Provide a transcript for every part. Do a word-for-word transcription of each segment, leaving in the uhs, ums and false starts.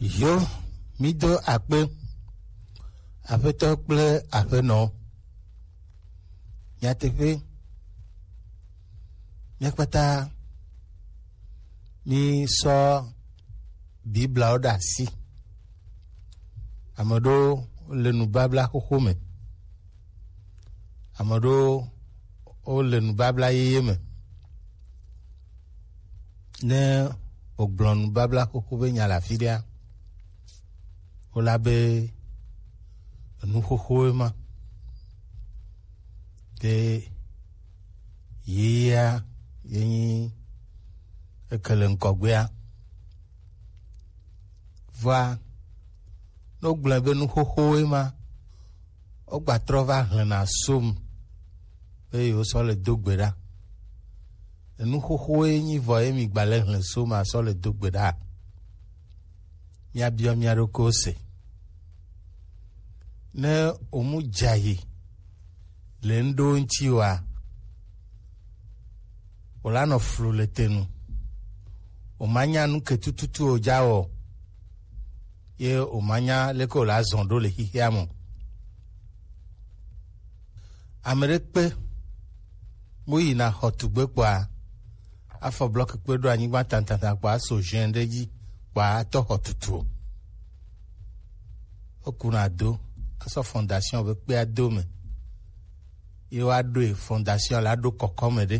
Yo, mi do akpe, aƒetɔ kple aƒenɔ. Nyateƒe, mía kpata mi sɔ Biblawo ɖe asi. Ame ɖewo le nubabla xoxo me. Ame ɖewo wo le nubabla yeye me. Ne wògblɔ nubabla xoxo be nya le afi ɖea, wola be enu xoxoe ma. Ke yeyea ye nyi eke le ŋgɔgbea. Vɔa, ne wogblɔe be nu xoxowoe ma, wogba trɔ va hlẽna som be yewosɔ le do gbe ɖa. Enu xoxowoe nyi vɔ ye migba le hlẽ som asɔ le do gbe ɖa. Míabiɔ mía ɖokuiwo se. Ne wòmu dzayi le ŋɖewo ŋuti oa, wòlanɔ flu le te nu. Wòmanya nu ke tututu wòdza wɔ o, ye wòmanya leke wòla zɔ ɖo le xixea me o. Ame ɖe kpe, mu yina xɔtugbe kpɔa, afɔ blɔki kpe ɖo anyigba tantanta kpɔa, aso ʒɛn ɖe dzi kpɔa, atɔ xɔ tutu o. Wokuna do, asɔ fondation be kpea do me. Ye woaɖoe, fondation la ɖo kɔkɔme ɖe.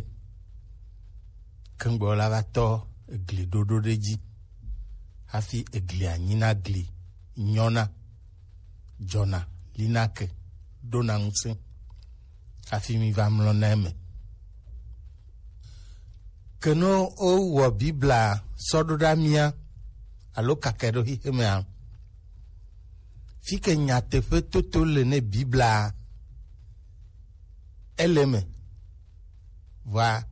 Keŋgbɔ la va tɔ egli ɖoɖo ɖe dzi. Hafi eglia nyina gli nyɔna, dzɔna, lina ke, ɖona ŋusẽ. Hafi mi va mlɔna eme. Ke ne wowɔ Bibla sɔ ɖo ɖa mía alo kake ɖo xixemea, fi ke nyateƒe toto le ne Bibla ele me. Vɔa,